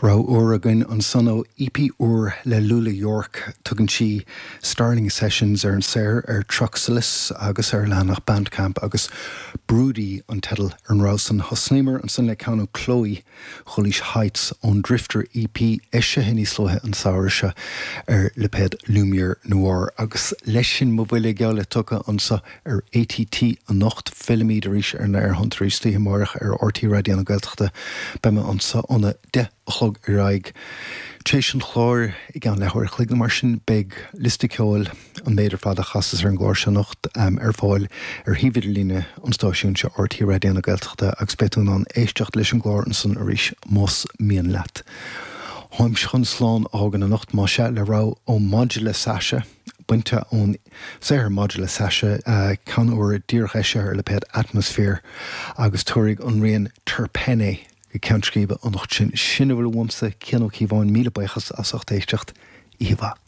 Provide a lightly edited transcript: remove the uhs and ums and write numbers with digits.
Rogha úr againn ansan ó EP úr le Lula York. Tugann sí Starling Sessions ar an saothar ar Truxalis agus ar leathanach Bandcamp agus Broody an teideal ar an rogha san. Thosnaíomar ansan le ceann ó Chloe Dhoilís Heights ón Drifter EP eisithe níos luaithe an samhradh seo ar lipéad Lumiere Noir. Agus leis sin mo bhuille geall le tugtha anso ar ATT anocht. Fillfimid arís ar na aerthonnta arís istoíche amáireach ar RTÉ Raidió na Gaeltachta. Beidh mé anso óna 10 a chlog ar aghaidh. Tar éis an chláir, i gceann leathuair a chloig nó mar sin, beidh liosta ceoil, an méid ar fad a chasas ar an gclár seo anocht, ar fáil ar shuíomh idirlíne an stáisiúin seo, RTÉ Raidió na Gaeltachta, agus beidh tú in ann éisteacht leis an gclár ansan arís más mian leat. Táimse chun slán a fhágaint anocht, más ea, le rogha ó Maidir le Sasha, bainte ón saothar Maidir le Sasha, ceann úr díreach eisithe ar lipéad Atmosphere, agus tabharfaidh an rian Terpene go ceann scríbe anocht sinn. Sin a bhfuil uaimse, Cian Ó Cíobháin, míle buíochas as ucht éisteacht. Oíche mhaith.